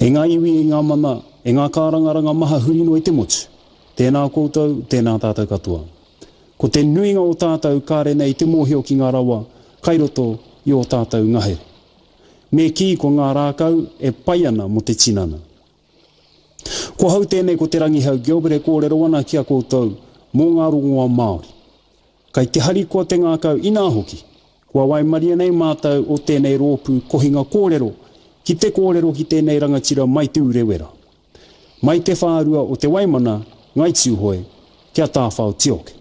E ngā iwi, e ngā mana, e ngā kārangaranga maha huri noa i te motu, tēnā koutou, tēnā tātou katoa. Ko te nuinga o tātou kāre nei te mōhio ki ngā rawa kai roto i ō tātou ngahere. Me kī ko ngā rākau e pai ana mō te tinana. Ko ahau tēnei ko Te Rangihau Gilbert e kōrero ana ki a koutou mō ngā rongoa Māori. Kai te harikoa te ngākau inā hoki, kua waimaria nei mātou o tēnei rōpū kohinga kōrero ki te kōrero ki tēnei rangatira mai Te Urewera, mai te whārua o Te Waimana, Ngai Tūhoe, ki a Tāwhao Tioke.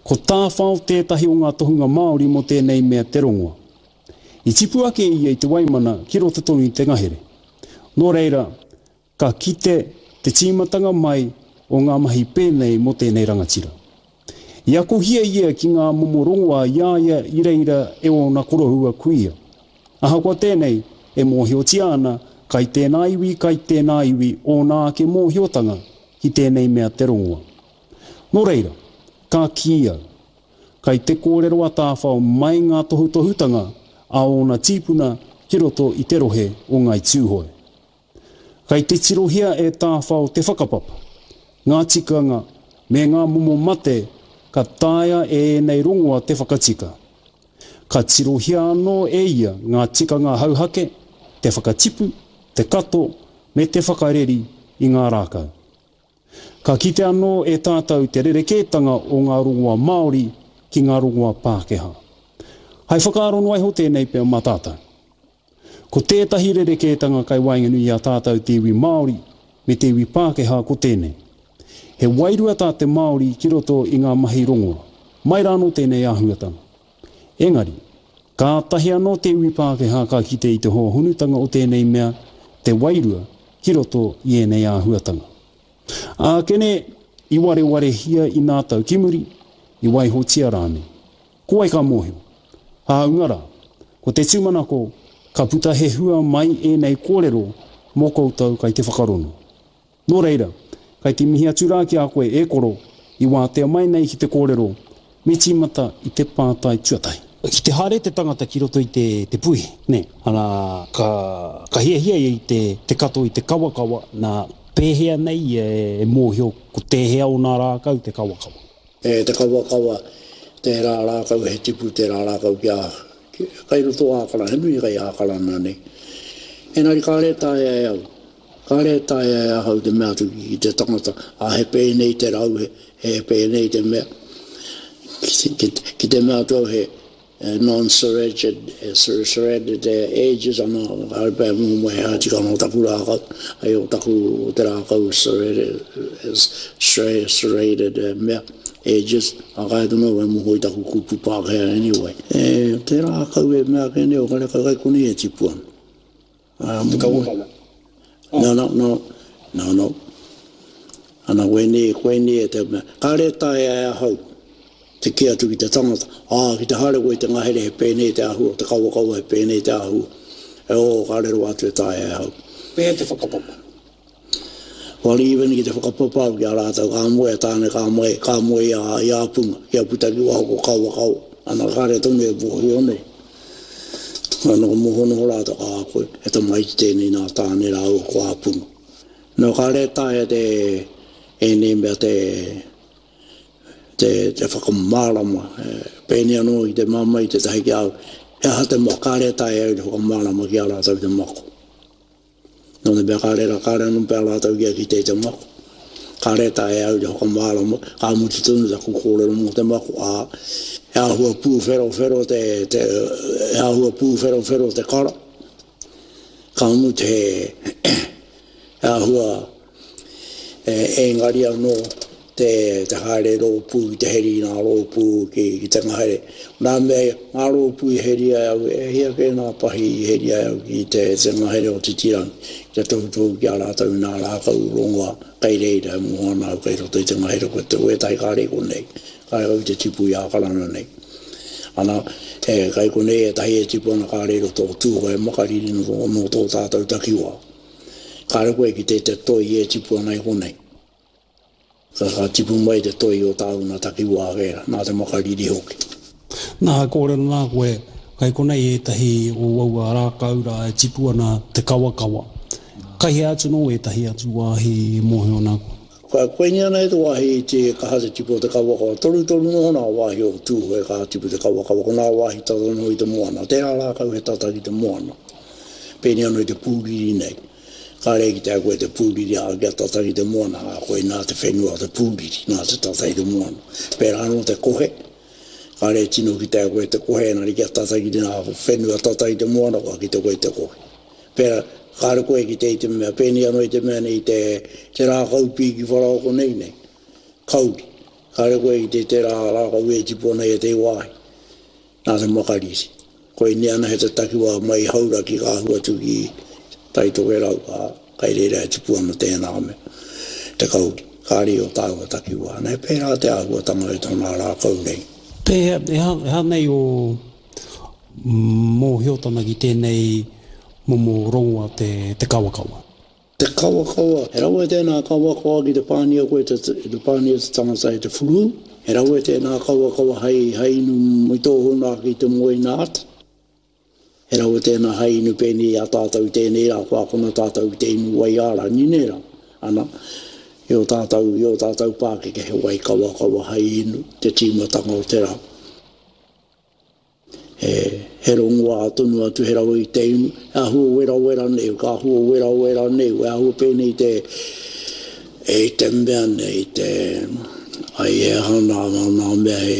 Ko Tāwhao tētahi o ngā tohunga Māori mō tēnei mea te rongoa. I tipu ake ia i Te Waimana ki roto tonu i te ngahere. Nō reira, Ka kite te tīmatanga mai o ngā mahi pēnei mō tēnei rangatira. I akohia ia ki ngā momo rongoā i a ia i reira e ōna koroua kuia. Ahakoa tēnei, e mōhiotia ana kai tēnā iwi kai tēnā iwi ōna ake mōhiotanga ki tēnei mea te rongoa. Nō reira, ka kī au, kai te kōrero a Tāwhao mai ngā tohutohutanga a ōna tīpuna ki roto i te rohe o Ngāi Tūhoe. Kei te tirohia e Tāwhao te whakapapa, ngā tikanga, me ngā momo mate ka taea e ēnei rongoa te whakatika. Ka tirohia anō e ia ngā tikanga hauhake, te whakatipu, te kato, me te whakareri i ngā rākau. Ka kite anō e tātou te rerekētanga o ngā rongoa Māori ki ngā rongoa Pākehā. Hai whakaaro noa iho tēnei pea mā tātou. Ko tētahi rerekētanga kai waenganui i a tātou te iwi Māori me te iwi Pākehā ko tēnei. He wairua tā te Māori ki roto i ngā mahi rongoa. Mai rānō tēnei āhuatanga. Engari, kātahi anō te iwi Pākehā ka kite i te hōhonutanga o tēnei mea, te wairua, ki roto i ēnei āhuatanga. Ākene, i warewarehia i nā tau ki muri, i waihotia rānei. Ko wai ka mōhio? Hāunga rā, ko te tūmanako ka puta he hua mai ēnei kōrero mō koutou kai te whakarono. Nō reira, kai te mihi atu rā ki a koe e koro i wātea mai nei ki te kōrero, me tīmata i te pātai tuatahi. Ki te haere te tangata ki roto i te te puihi, nē, ana, ka, ka hiahia ia i te, te kato i te kawakawa, nā, pēhea nei ia e mōhio ko tēhea o nā rākau te kawakawa? E te kawakawa, tērā rākau he tipu tērā rākau kia, kai roto Ākarana, he nui kai Ākarana nei. Engari kāre e taea e au, kāre e taea e ahau te mea atu ki te tangata, ā, he pēnei te rau, he, he pēnei te mea. Ki, ki, ki te mea atu au he, Non-serrated, serrated edges ana, kāore pea e moho mai he ātika anō taku rākau, hei o taku, o te rākau serrated, serrated mea, edges, ā, kāre tonu au e moho i taku kupu Pākehā anyway. E, te rākau e mea ake nei, o karekau kai konei e tipu ana. Te kawakawa. No, no, no, no, no. Ana, koinei, koinei e te mea. Kāre e taea e ahau te kī atu ki te tangata, ā, ki te haere koe i te ngahere he pēnei te āhua, te kawakawa he pēnei te āhua. E ō, kāre rawa atu e taea e ahau. Pēhea te whakapapa? Well, even ki te whakapapa au ki a rātou, ka moe a Tāne, ka moe, ka moe i a, i a Punga, kia puta ki waho ko Kawakawa. Ana, kāre tonu e mōhio nei. Ka noho moho noho rātou, ā, koe, he tamaiti tēnei nā Tāne rāua ko Āpunga. Nō, kāre e taea te, ēnei mea te, te, te whakamārama. Pēnei anō i te māmā i tētahi ki a au, he aha te mako, kāre e taea au te whakamārama ki a rātou te mako. Nō te mea kāre rā, kāre anō pea rātou kia kite i te mako. Kāre e taea e au te whakamārama, ka mutu tonu taku kōrero mō te mako, ā, he āhua pūwherowhero te, te, he āhua pūwherowhero te kara. Ka mutu he, he āhua Engari anō te haere rōpū ki te heri i ngā rōpū ki te ngahere. Nā mea ngā rōpū i heria e au, e hia kē ngā pahi i heria e au ki te ngahere o Titirangi, ki te tohutohu ki a rātou i ngā rākau rongoa kei reira e moho ana au kei roto i te ngahere ko te wētahi kāre i konei, kāre au i te tipu i Ākarana nei. Ana, kei konei ētahi e tipu ana kāre i roto o Tūhoe Makariri nō tō tātou takiwā. Kāre koe ki te te toi e tipu ana i konei. Ka, ka tipu mai te toi o tāu nā takiwā wērā, nā te makariri hoki. Nā, he kōrero nā koe, kei konei ētahi o aua rākau rā e tipu ana te kawakawa. Kai hea atu nō ētahi atu wāhi e mōhio ana koe? Ka koinei ana e te wāhi iti e kaha te tipu o te kawakawa. Torutoru noho nā wāhi o Tūhoe ka tipu te kawakawa. Ko nā wāhi tata noho i te moana. Tērā rākau he tata ki te moana. Pēnei anō i te pūriri nei. Kāre e kitea koe te pūriri ā, kia tata ki te moana, ā, koinā te whenua o te pūriri, nā te tata i te moana. Pērā anō te kohe. Kāre e tino kitea koe te kohe, engari kia tata ki te nā whenua tata i te moana, kua kite koe i te kohe. Pērā, kāre koe e kite i te mea, pēnei anō i te mea nei, te, te rākau pīki wharaoko nei nei, kauri. Kāre koe e kite i tērā rākau e tipu ana i ētehi wāhi, nā te makariri. Koinei anahe te takiwā mai i Hauraki ka ahu atu ki Tai Tokerau, ā, kai reira e tipu ana tēnā mea, te kauri. Kāre i ō tāua takiwā. Nā, he pērā te āhuatanga i tōnā rākau nei. Pēhea, e aha nei ō mōhiotanga ki tēnei momo rongoa te kawakawa? Te kawakawa, he rawe tēnā kawakawa ki te pānia koe te, te pānia te tangata e te whurū. He rawe tēnā kawakawa hei, hei inu i tō huna ake i te moe ina ata. He rawe tēnā hei inu pēnei i a tātou i tēnei rā, kua akona tātou ki te inu wai ārangi nē rā. Ana, i ō tātou, i ō tātou pākeke he wai kawakawa hei inu te tīmatanga o te rā. He, he rongoā tonu atu, he rawe i te inu, he āhua werawera nei, ka āhua werawera nei, he āhua pēnei te, e i te mea nei, te, ai he aha nā, nā, nā mea he,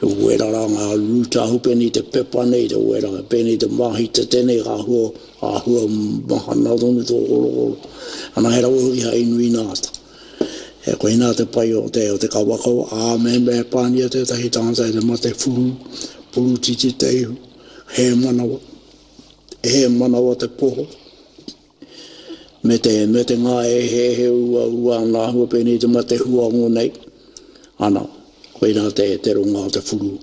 he wera rā ngā root, āhua pēnei te pepa nei, te wera, pēnei te māhitete nei, ka āhua, āhua mahana tonu tō korokoro. Ana he rawe hoki hai inu ina ata. E koinā te pai o te, o te kawakawa, ā, mehemea e pānia tētahi tangata e te mate whuru, purutiti te ihu, hē manawa, hē manawa te poho, me te, me te ngāeheehe uaua ana āhua pēnei te mate huango nei, ana, koinā te, te ronga o te whuru.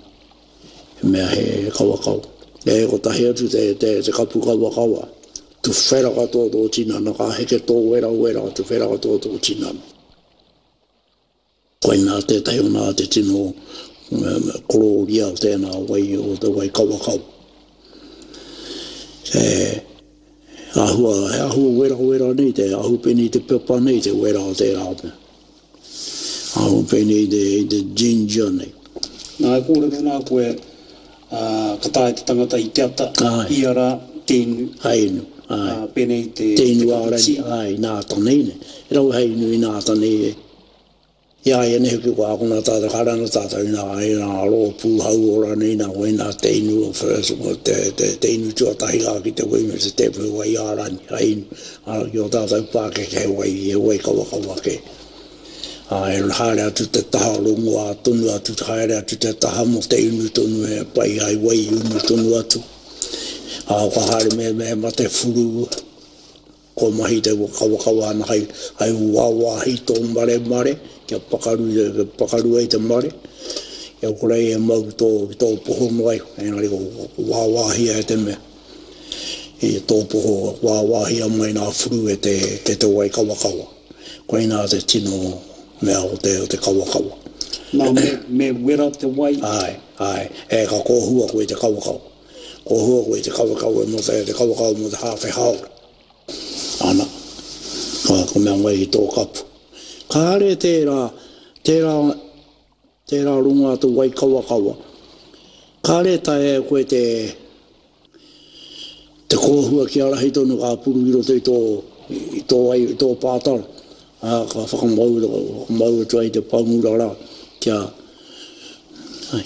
He mea he kawakawa. E kotahi atu te, te, te kapu kawakawa. Tuwhera katoa tō tinana, ka heke tō werawera, tuwhera katoa tō tinana. Koinā tētahi o nā te tino korōria o tēnā wai, o te wai kawakawa. He āhua, he āhua werawera nei, te ahu pēnei te pepa nei, te wera o tērā mea. Aho pēnei i te, i te ginger nei. Nā, e kōrero nā koe, ā, ka taea te tangata i te ata, Āe. ia rā, te inu. Hai inu, āe. Ā, pēnei i te, Te te inu kapu ārahi, tī. āe, nā tanei nei. He rawe hai inu i nā tanei e. I a ia nei hoki kua akona tātou, kāre anō tātou i nā, i nā rōpū hauora nei nā, koinā te inu o first, te, te, te inu tuatahi rā ki te wai me te tēpu he wai ārani, hai inu. Ā, ki ō tātou pākeke he wai, he wai kawakawa kē. Ā, e haere atu te taha rongoā tonu atu, haere atu te taha mō te inu tonu he pai hai wai inu tonu atu. Ā, ka haere me, me mate whuru, kua mahi te kawakawa ana hai, hai wāwāhi tō maremare, kia pakaru, kia pakaru ai te mare, kia kore ai e mau ki tō, ki tō poho noa iho, engari ko wāwāhia e te mea. I tō poho wāwāhia mai nā whuru e te, e te wai kawakawa. Koinā te tino mea o te, o te kawakawa. Nā, me, me wera te wai? Āe, āe. E, ka kōhua koe i te kawakawa. Kōhua koe i te kawakawa mō te, te kawakawa mō te hāwhe hāora. Ana, ka, ka mea mai ki tō kapu. Kāre tērā, tērā, tērā rongoā te wai kawakawa. Kāre e taea e koe te, Te kōhua kia rahi tonu ka puru i roto i tō, i tō ai, i tō pātara, ā, ka whakamau, whakamau atu ai te pangura rā, kia,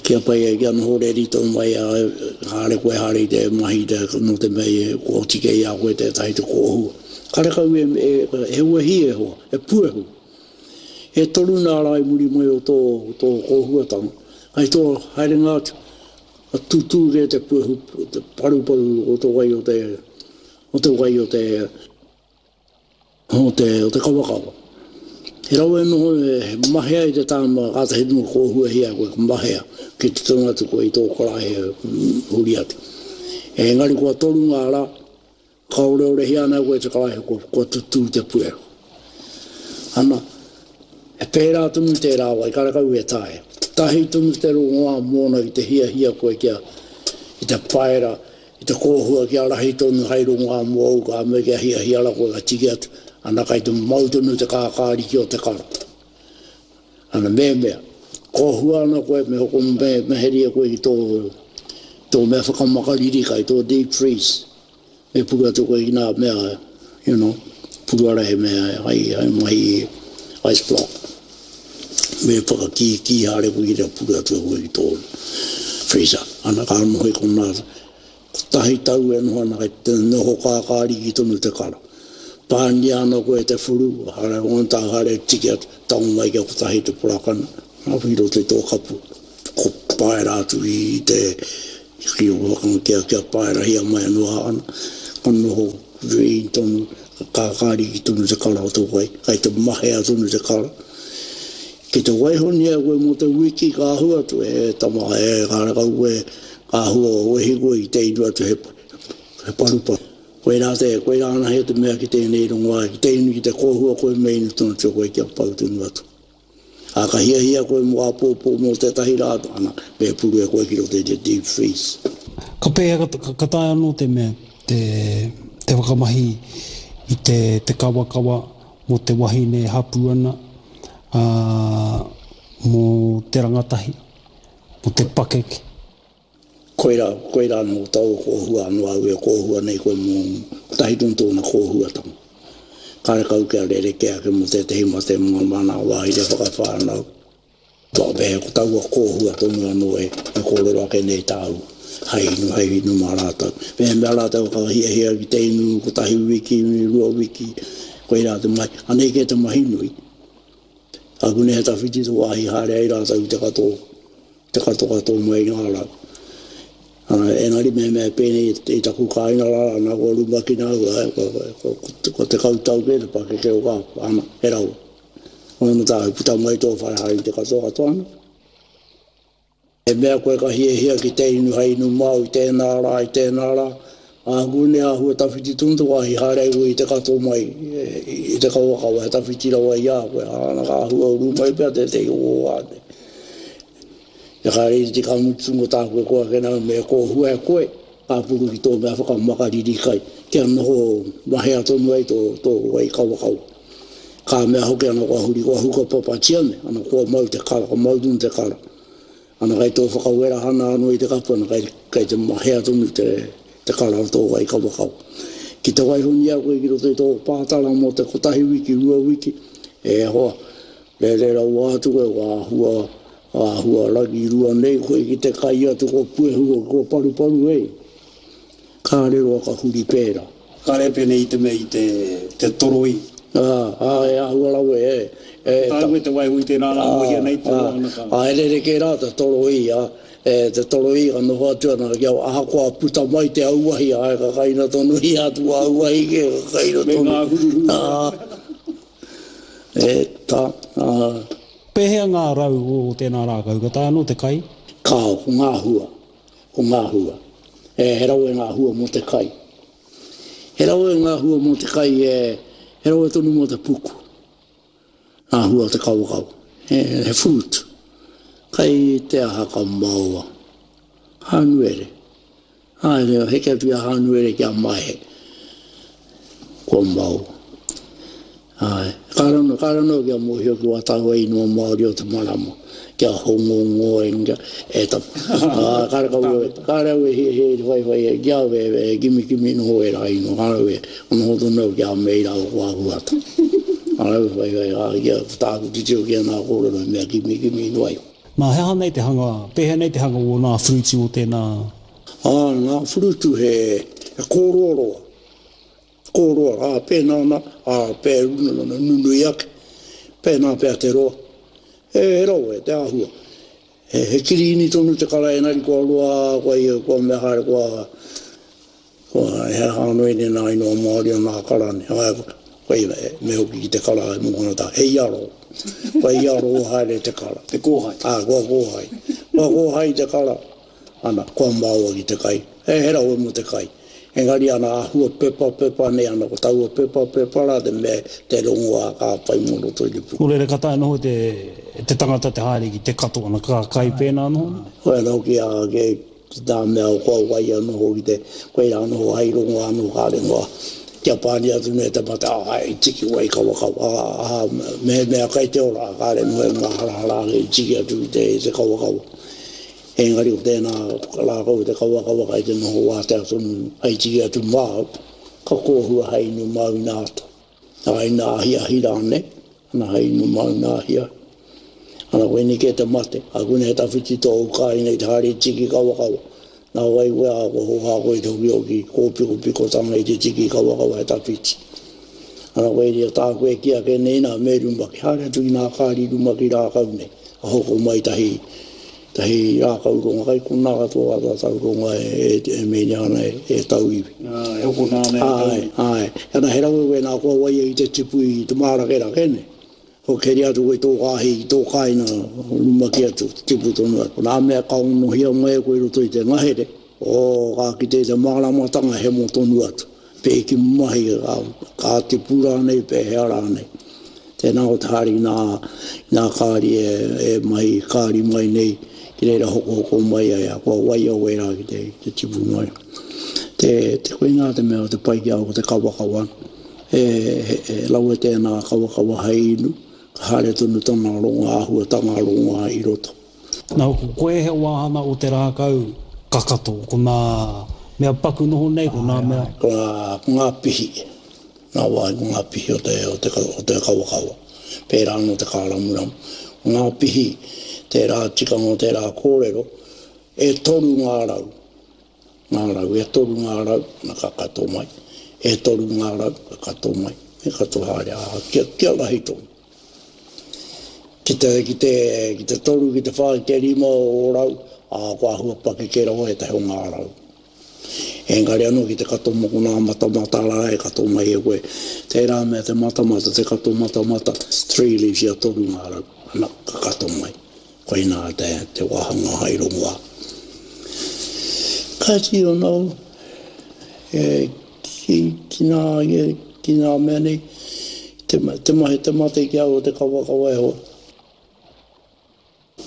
kia pai ai, kia noho reri tonu mai, ā, haere koe haere i te mahi, te, nō te mea i, kua oti kē i a koe tētahi te kōhua. Karekau e, e, he wehi e hoa, he puehu. E toru nā rā i muri mai o tō, tō kōhuatanga, hei tō haerenga atu, Ka tūtū kē te puehu, te paruparu o te wai o te, o te wai o te, o te, o te kawakawa. He rawe noho e mahea i te tāma, kātahi tonu kōhuahia koe, ka mahea ki te tonu atu koe i tō karaehe huri atu. Engari kua toru ngā rā, Ka oreorehia ana koe te karaehe kua, kua tutū te puehu. Ana, he pērā tonu tērā wai, karekau e taea. Tahi tonu te rongoā mōna ki te hiahia koe kia, ki te paera, I te kōhua kia rahi tonu hai rongoā mōu ka mea kia hiahia ra koe ka tiki atu, ana kai te mau tonu te kākāriki o te kara. Ana mehemea, kōhua ana koe me hoko me, me heria koe ki tō, tō mea whakamakariri kai, tō deep freeze. Me puru atu koe ki nā mea, you know, puru ara he mea hai, hai mahi ice block. Me whakakīkī haere koe ki reira puru atu e koe ki tō freezer. Ana ka noho i konā, kotahi tau e noho ana kei te noho kākāriki tonu te kara. Pānia ana koe e te whuru, haere ona tā haere tiki atu, tango mai kia kotahi te porakana, ki roto i tō kapu, ko paera atu i te Ki whakanga kia kia paerahia mai anō a ana, ka noho green tonu, ka kākāriki tonu te kara o te wai, kai te mahea tonu te kara. Ki te waihonia koe mō te wiki ka ahu atu, e tama, e kārekau koe, ka ahua wehi koe ki te inu atu he, he paruparu. Koirā te, koirā anahe te mea ki tēnei rongoā, ki te inu, ki te kōhua koe me inu tonu atu koe kia pau tonu atu. Ā, ka hiahia koe mō āpōpō mō tētahi rā, ana, me puru e koe ki roto i te deep freeze. Ka pēhea, ka taea anō te mea te, te whakamahi i te, te kawakawa mō te wahine e hapū ana, ā, mō te rangatahi, mō te pakeke? Koirā, koirā anō taua kōhua anō au e kōhua nei koe mō kotahi tonu tōna kōhuatanga. Karekau kia rerekē ake mō tētehi mate mō ngā mana wāhine whakawhānau. Whakawehe ko taua kōhua tonu anō e kōrero ake nei tāu, hai inu, hai inu mā rātou. Mehemea rātou ka hiahia ki te inu kotahi wiki, rua wiki, koirā te mahi. Anei kē te mahi nui. Ākune he tawhiti te wāhi haere ai rātou i te katoa. Te katokato mai i ngā rau. Engari mehemea e pēnei i taku kāinga rā, ana kua rumakina au, kua 10 tau kē te pakeke o kā, ana, he rawa. Ona tāu, puta mai tō whare haere i te katokato ana. He mea koe ka hiahia ki te inu hei inu māu i tēnā rā, i tēnā rā, āku nei āhua tawhiti tonu te wāhi haere ai koe i te kato mai i te kawakawa, he tawhiti rawa i a koe, ana ka āhua uru mai pea tētehi o ō āne. Te kariri ka mutu mo tāku e koa ake nau me kōhua e koe, ka puru ki tō mea whakamakariri kai, kia noho mahea tonu ai tō, tō wai kawakawa. Ka mea hoki ana kua huri, kua huka papatia me, ana kua mau te kara, ka mau tonu te kara. Ana kai tō whakawerahana anō i te kapu, ana kai, kai te mahea tonu te, te kara o tō wai kawakawa. Ki te waihonia koe ki roto i tō pātara mō te kotahi wiki, rua wiki, e hoa, Rere rawa atu koe, kua āhua, āhua rangirua nei koe ki te kai atu, kua puehu, kua paruparu e. Kāre roa ka huri pērā. Kāre pēnei i te mea i te, te toroi. Ā, ā, e āhua rawe, e, e. Ka taea koe te waiho i tērā rā, mohia nei te roa ana ka. Ā, e rerekē rā te toroi, ā, e, te toroi ka noho atu ana kia ahakoa puta mai te auahi, āe, ka kaina tonu ia atu auahi kē, ka kaina tonu. Me ngā huruhuru. Ā. E ta, a. Pēhea ngā rau o tēnā rākau? Ka taea anō te kai? Kāo, ko ngā hua. Ko ngā hua. E, he rawe ngā hua mō te kai. He rawe ngā hua mō te kai, e, he rawe tonu mō te puku. Ngā hua o te kawakawa. He, he fruit. Kai te aha ka maoa. Hānuere. Haere, heke atu i a Hānuere ki a Maehe. Kua mau. Āe. Kāre anō, kāre anō kia mōhio ki wā tāua ingoa Māori o te marama, kia Hongongoi, kia, e ta, ā, kāre kau au, kāre au e hiahia i te whaiwhai e, ki a au e, e kimikimi noho ērā ingoa, kāre au e, noho tonu au ki a Mei rāua ko Āhuata. Kāre au e whaiwhai, ā, kia, ko tāku titiro ki ana kōrero he mea kimikimi noa iho. Nā, he aha nei te hanga, pēhea nei te hanga o nā whurutu o tēnā? Ā, ngā whurutu he, he kōroaroa, kōroa, ā, pēnā nā, ā, pē, nunui ake, pēnā pea te roa. He, he rawe te āhua. He, he kirīni tonu te kara engari kua roa, kua, kua mea haere, kua, Kua, he aha anō ēnei nā ingoa Māori o nā kara nei? Āe, koe, me hoki ki te kara e mōhio ana he iaro. Kua iaro haere te kara. Te kōhai. Āe, kua kōhai. Kua kōhai te kara, ana, kua maoa ki te kai. He, he rawe mō te kai. Engari ana āhua pepapepa nei ana, ko taua pepapepa rā te mea, te rongoā ka whai mō roto i te puku. Nō reira, ka taea noho te, te tangata te haere ki te kato ana, ka kai pēnā noho? Koe anō ki a, ki. Ki tā mea o kua wai anō hoki te, koirā noho hai rongo anō kāre noa kia pāni atu nei te mate, ā, i tiki wai kawakawa, ā, mehemea kai te ora, kāre noa e māharahara ake i tiki atu i te, i te kawakawa. Engari ko tēnā rākau te kawakawa kai te noho wātea tonu hai tiki atu māu, ka kōhua hai inu māu ina ata. Ā, ina ahiahi rānei, ana hai inu māu ina ahiahi. Ana koinei kē te mate, ā, koinei he tawhiti tōu kāinga i te haere tiki kawakawa. Nā wai koe, ā, kua hōhā koe i te hokihoki kōpikopikotanga i te tiki kawakawa he tawhiti. Ana koinei tāku e kī ake nei nā, me rumaki, haere atu ki nā kāri rumaki rākau nei, ka hoko mai tahi Tahi rākau ronga kai konā katoa a tātou ronga e, e mēnia ana e, e tauiwi. Ā, e hokona ana e tauiwi. Āe, āe. Ana he rawe wēnā kua waia i te tipu i te mārakerake, nē. Kua keri atu koe i tō kāhi, i tō kāinga, rumaki atu, tipu tonu atu. Nā mea ka onohia mai e koe i roto i te ngahere, oh, ka kite i te māramatanga hemo tonu atu. Pēki mahi, ka, ka tipu rānei, pēhea rānei. Tēnā ko te haere ki nā, ki nā kāri e, e mahi kāri mai nei, ki reira hokohoko mai ai, a kua waia wērā ki te, ki te tipu mai. Te, te koinā te mea o te pai ki a au ko te kawakawa. E, he, he rawe tēnā kawakawa hei inu, ka haere tonu tana rongo, āhuatanga rongoā i roto. Nā, ko koe he wāhanga o te rākau kakato, ko nā mea paku noho nei, ko nā mea. Ko ngā, ko ngā pihi, ngā wāhi ko ngā pihi o te, o te, o te kawakawa. Pērā anō te kāramuramu. Ko ngā pihi, tērā tikanga o tērā kōrero, e toru ngā rau, ngā rau, e toru ngā rau, na ka kato mai, e toru ngā rau, ka kato mai, me kato haere, ā, kia, kia rahi tonu. Ki te, ki te, ki te toru, ki te whā, ki te rima o rau, ā, kua āhua pakeke rawa ētahi o ngā rau. Engari anō ki te kato moko nā matamata rā e kato mai e koe. Tērā mea te matamata, te kato matamata, three leaves ia toru ngā rau, ana, ka kato mai. Koinā te, te wāhanga hai rongoā. Kāti anō, e, ki, ki ngā, ki ngā mea nei, te, te mahi, te mate ki au o te kawakawa e hoa.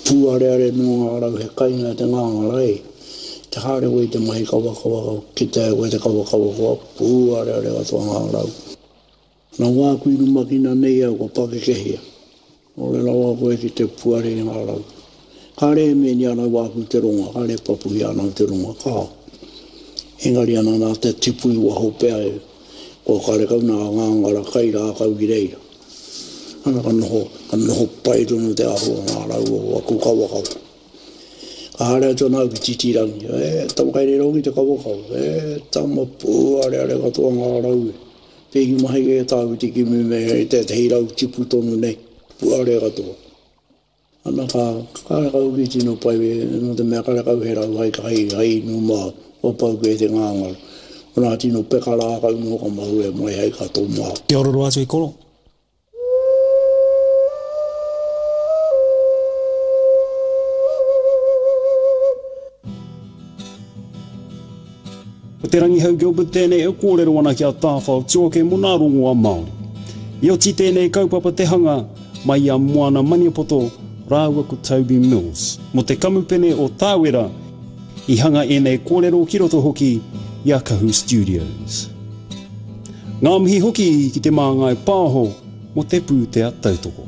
Pūareare nō ngā rau he kainga te ngāngara e. Te haere koe i te mahi kawakawa, kitea e koe te kawakawa kua pūareare katoa ngā rau. Nā wāku i rumakina nei au kua pakekehia. Ore rawa koe ki te puare i ngā rau. Kāre e mēni ana wāku te ronga, kāre e papuhia ana te ronga, kāo. Engari ana nā te tipu i waho pea e, kua karekau nā ngāngara kai rākau ki reira. Ana ka noho, ka noho pai tonu te āhua o ngā rau o aku kawakawa. Ka haere atu ana au ki Titirangi, e tama kai reira hoki te kawakawa, e tama pūareare katoa ngā rau e. Pēhi mahi e tāu te kimi me tētehi rau tipu tonu nei, puare katoa. Ana ka, karekau ki tino pai, nō te mea karekau he rau hai, hai, hai inu mā, kua pau kē te ngāngara. Ko nā tino peka rākau noho ka mahue mai hai kato mā. Kia ora roa atu e koro. Ko Te Rangihau Gilbert tēnei e kōrero ana ki a Tāwhao Tuoke mō nā rongoa Māori. I oti tēnei kaupapa te hanga mai i a Moana Maniapoto rāua ko Toby Mills mō te kamupene o Tāwera i hanga ēnei kōrero ki roto hoki i a Kahu Studios. Ngā mihi hoki ki Te Māngai Pāho mō te pūtea tautoko.